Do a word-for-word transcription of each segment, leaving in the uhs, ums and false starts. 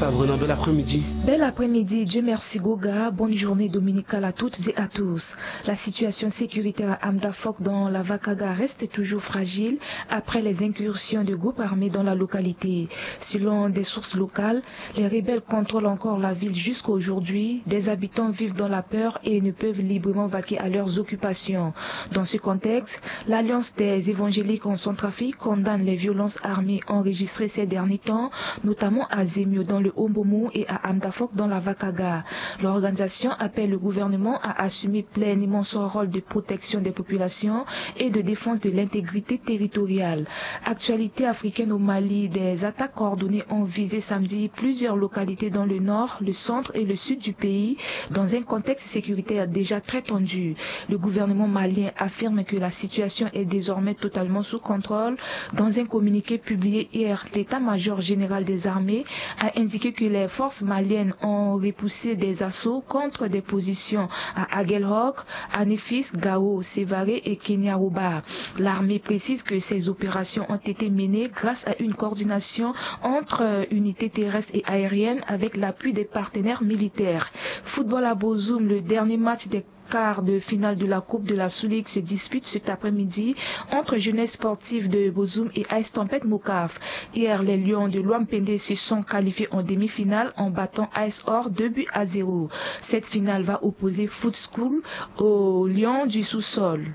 Sabrina, bel après-midi. Bel après-midi, Dieu merci Goga, bonne journée dominicale à toutes et à tous. La situation sécuritaire à Amdafok dans la Vakaga reste toujours fragile après les incursions de groupes armés dans la localité. Selon des sources locales, les rebelles contrôlent encore la ville jusqu'à aujourd'hui. Des habitants vivent dans la peur et ne peuvent librement vaquer à leurs occupations. Dans ce contexte, l'Alliance des évangéliques en Centrafrique condamne les violences armées enregistrées ces derniers temps, notamment à Zemio dans le Hombomou et à Amdafok dans la Vakaga. L'organisation appelle le gouvernement à assumer pleinement son rôle de protection des populations et de défense de l'intégrité territoriale. Actualité africaine au Mali, des attaques coordonnées ont visé samedi plusieurs localités dans le nord, le centre et le sud du pays, dans un contexte sécuritaire déjà très tendu. Le gouvernement malien affirme que la situation est désormais totalement sous contrôle. Dans un communiqué publié hier, l'état-major général des armées a indiqué que les forces maliennes ont repoussé des assauts contre des positions à Aguelhok, Anefis, Gao, Sévaré et Keniaroba. L'armée précise que ces opérations ont été menées grâce à une coordination entre unités terrestres et aériennes avec l'appui des partenaires militaires. Football à Bozoum, le dernier match des quarts de finale de la Coupe de la Sous-Ligue se dispute cet après-midi entre Jeunesse Sportive de Bozoum et Ice Tempête Mokaf. Hier, les Lions de Loampende se sont qualifiés en demi-finale en battant Ice Or deux buts à zéro. Cette finale va opposer Foot School aux Lions du sous-sol.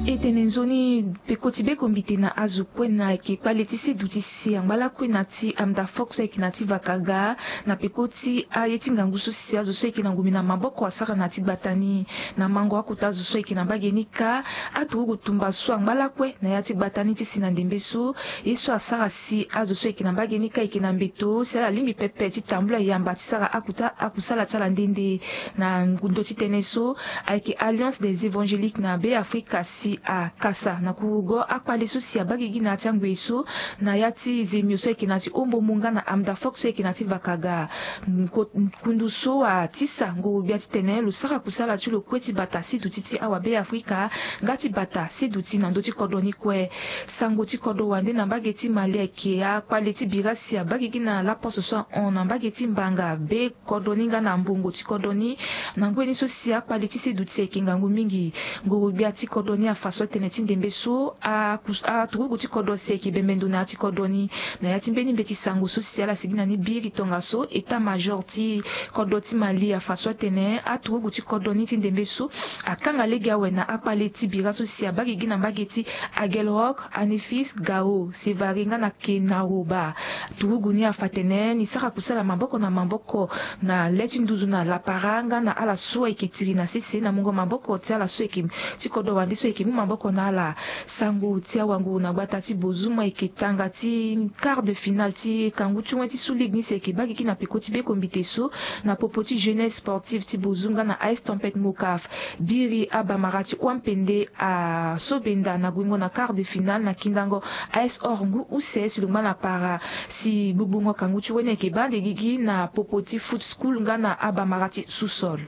E tene nzoni peko ti beko mbite na azo kue na ayeke kpale ti seduti si angba lakue na ti Amdafok so ayeke na ti Vakaga, na peko ti aye ti ngangu so si azo so ayeke na ngumi na maboko asara na ti gbata ni. Na mango akota azo so ayeke na mbage ni kâ, aturugu tumba so angba lakue na ya ti gbata ni ti si na ndembe so, ye so asara si azo so ayeke na mbage ni kâ ayeke na mbeto si ala lingbi pepe ti tambula yamba ti sara akuta akusala ti ala nde nde. Na ndö ti tënë so, ayeke Alliance des Évangéliques na Be Afrika si akasa na kurugo akpale so si abaa gigi na ya ti angbei so, na ya ti Zemio so ayeke na ti Hombomou nga na Amdafok so ayeke na ti Vakaga. Nko- kundu so atisa nguru-gbia titene lo sara kusala ti lo kue ti bata seduti ti awa Be Afrika nga ti bata seduti na ndö ti kodro ni kue. Sango ti kodro wande na mbage ti Mali ayeke akpale ti bira si abaa gigi na laposo so ahon na mbage ti Mbanga be kodro ni nga na mbongo ti kodro ni. Na ngoi ni so si akpale ti seduti ayeke ngangu mingi, nguru-gbia ti kodro ni afa so atene ti ndembe so, a- aturugu ti kodro si ayeke bembe ndo na ya ti kodro ni. Na ya ti mbeni mbeti sango so si ala sigi na ni biri tongaso, état-major ti kodro ti Mali afa so atene aturugu ti kodro ni ti ndembe so akanga lege awe na akpale ti bira so si abaa gigi na mbage ti Aguelhok, Anefis, Gao, Sévaré nga na Kenaroba. Turugu ni afa atene ni sara kusala maboko na maboko na le ti nduzu na lapara nga na ala so ayeke tiri na sese na mungo maboko ti ala so ayeke ti kodro wande so ayeke mu maboko na ala. Sango ti awango na gbata ti Bozoum ayeke tanga ti quart de finale ti kangu ti wen ti Sous-Ligue ni si ayeke baa gigi na peko ti beko mbite so, na popo ti Jeunesse Sportive ti Bozoum nga na Ice Tempête Mokaf. Biri abamara ti Wampende asobenda na guingo na quart de finale na kindango Ice Or ngu use si lo ngba na para. Si gbugbungo kangu ti wen ni ayeke baa ande gigi na popo ti Foot School nga na abamara ti Sous-Sol.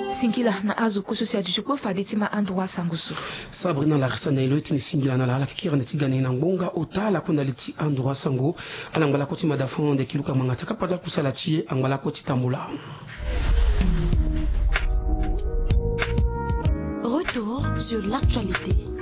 Singila na azo kue so si aduti kue fade ti ma androit sango so. Sabrina Larissa na e lo ti tene singila na ala ala yeke kiri ande ti ga na e na ngbonga ota lakue na li ti androit sango. Ala ngba lakue ti mada fond ande kiluka ngbanga ti akapa ti akusala ti e angba lakue ti tambula. Retour sur l'actualité.